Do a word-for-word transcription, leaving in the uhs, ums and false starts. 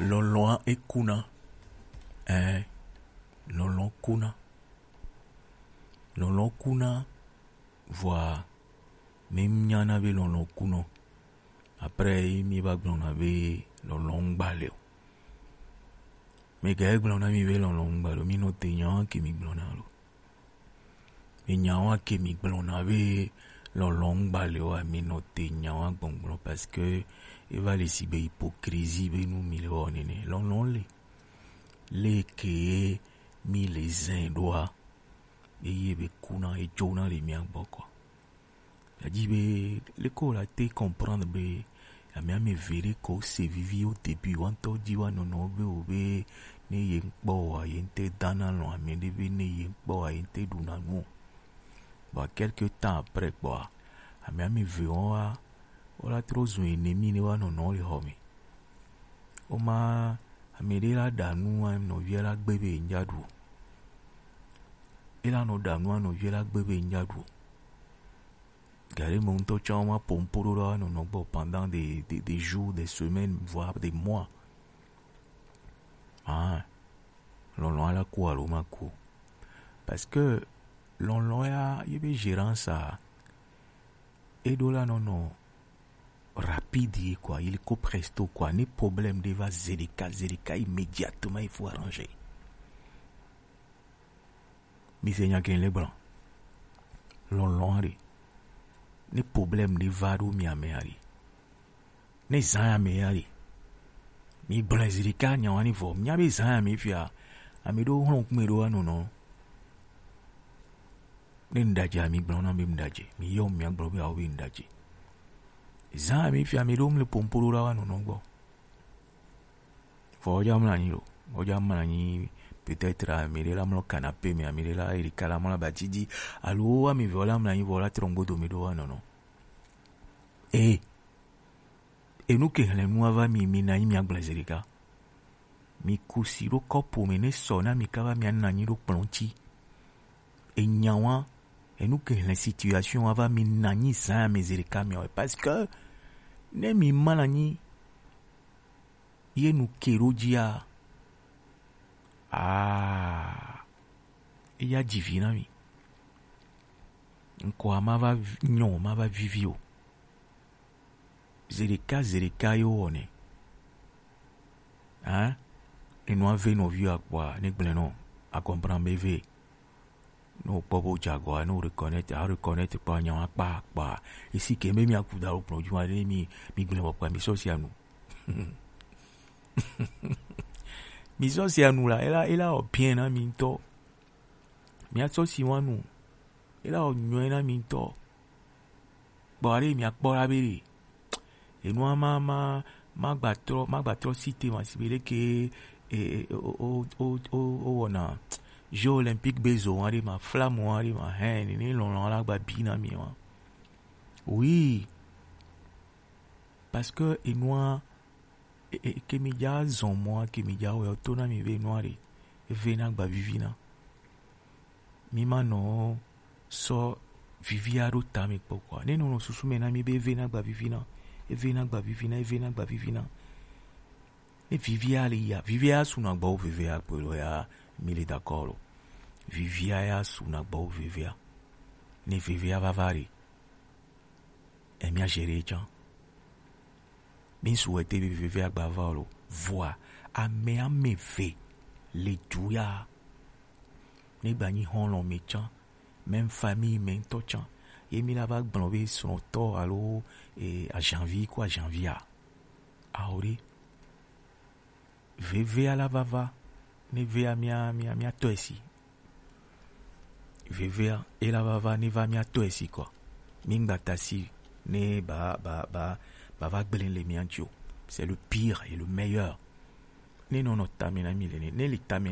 Lɔlɔ̃a ekuna. Ɛɛ, lɔlɔ̃ kuna. Lɔlɔ̃ kuna, vɔa mi nyana be lɔlɔ̃ kunɔ. Après, mi va gblɔna be lɔlɔ̃ ŋgba le o. Mi ga gblɔna mi be lɔlɔ̃ ŋgba le o. Mi nɔ te nyawa ke mi gblɔna lo. Mi nyawa ke mi gblɔna be lɔlɔ̃ ŋgba le o, mi nɔ te nyawa gbɔngbɔn parce que e va le si be hypocrisie be nu mi le wɔ nene. Lɔlɔ̃ le. Le ke mi le zɛn ɖoa, eye be kuna edzona le mia gbɔ kɔ. Yadi be leke wo la te comprendre be ame ame eve ɖe ko se vivi wo début wa ŋutɔ dzi wa nɔnɔ be wo be ne ye ŋkpɔ wa ye ŋte dana lɔn ame ɖe be ne ye ŋkpɔ wa ye ŋte ɖuna nu o. Bon, quelque temps après kpɔa, ame ame eve wɔn wa wo la trɔ zu ennemi ne wa nɔnɔ le xɔ me. Wo ma ame ɖe la ɖa nu wa nɔvia la gbe be ŋdza ɖu o. E la nɔ ɖa nu wa nɔvia la gbe be ŋdza ɖu o. Gari mo ŋutɔ tsã ma pompo ɖo ɖa nɔnɔ gbɔ pendant des, des, des jours, des semaines, voire des mois. Ah, lɔlɔ̃ ala ku alo ma ku. Parce que lɔlɔ̃ ya ye be gérance a e ɖo la nɔnɔ rapide ye quoi, il ko presto quoi. Ne problème ɖe va zedeka zedeka immédiatement il faut arranger. Mi se nya ke le blanc. Lɔlɔ̃ ɖe. Ne problème ɖe va ɖo mi ame aɖe. Ne zã ya me ya ɖe. Mi gblẽ zi ɖeka nyawa ni vɔ. Mia be zã ya me fia. Ame ɖo hlɔ̃ kume ɖo anɔ nɔ. Ne ŋɖadze mi gblɔ na be ŋɖadze. Mi yɔ mia gblɔ be awo be ŋɖadze. Zã ya me fia ame ɖo mle pompo ɖo ɖa wa nɔ nɔ gbɔ. Vɔ wodza mlɔ anyi lo. Wodza mlɔ anyi peut-être ame ɖe la mlɔ canapé me, ame ɖe la yi ɖeka la mlɔ abati dzi. Alo wo ame eve wo la mlɔ anyi vɔ wo la trɔ ŋgodo me ɖo wa nɔ nɔ. Ee. Enu ke hlẽ nu ava mi, mi na anyi mia gblẽ zi ɖeka. Mi ku si ɖo kɔpo me ne sɔ na mi kaba mia na anyi ɖo kplɔ̃ ŋuti. Enya wa, enu ke hlẽ situation ava mi na anyi zã ya me zi ɖeka mia wɛ. Parce que ne mi ma na anyi ye nu ke ɖo dzia, aa, eya dzi vi na mi. Ŋkɔa ma va vi- nyɔ, ma va vivi o. Zeɖeka zeɖeka ye wowɔnɛ. Hein? Enua ve nɔviwo akpɔa, ne gblẽ nɔ, a comprendre be ve. Ne wokpɔ be wodze agɔa, ne wo reconnaître, a reconnaître kpɔ nya wa kpa kpa. Esi ke be mi aku da wo kplɔ̃ dzi ma ɖe mi mi gblẽ bɔ kpa mi sɔ sia nu. Mi sɔ sia nu la, ela ela wɔ bien na mi ŋutɔ. Mia sɔ si wa nu. Ela wɔ nyɔe na mi ŋutɔ. Kpɔ ale mia kpɔ la be ɖe. Enua ma ma ma gba trɔ ma gba trɔ cité ma si be ɖeke e e o o o o o wɔna Jeux Olympiques be zo wa ɖe ma, flamme wa ɖe ma, hɛn nene lɔlɔ̃ la gba bi na mi wa. Oui. Parce que enua e, e, ke mi dza zɔn mɔa ke mi dza wɛ to na mi be enua ɖe eve na gba vivi na. Mi ma nɔ sɔ vivia ɖo ta mi kpɔ kɔa. Ne nɔ nɔ susu me na mi be eve na gba vivi na, eve na gba vivi na, eve na gba vivi na. Ne vivia le ya, vivia su na gba wo vivia kpɔ lo ya, mi le d'accord lo. Vivia ya su na gba wo vivia. Ne vivia va va ɖe, e mia gérer tsã. Mi souhaiter be veve agba va o lo. Vɔa, ame ame eve le du ya. Ne gba nyi xɔlɔ̃ me tsã, même famille me ŋutɔ tsã. Ye mi la va gblɔ be srɔ̃tɔ alo eh, ajanvi ko ajanvia. Awo ɖe. Vevea la va va, ne vea mia mia mia tɔe si. Vevea e la va va ne va mia tɔe si kɔ. Mi ŋgba ta si ne ba ba ba ba va gblẽ le mia ŋuti o. C'est le pire et le meilleur. Ne nɔ nɔ tame na mi le ne, ne li tame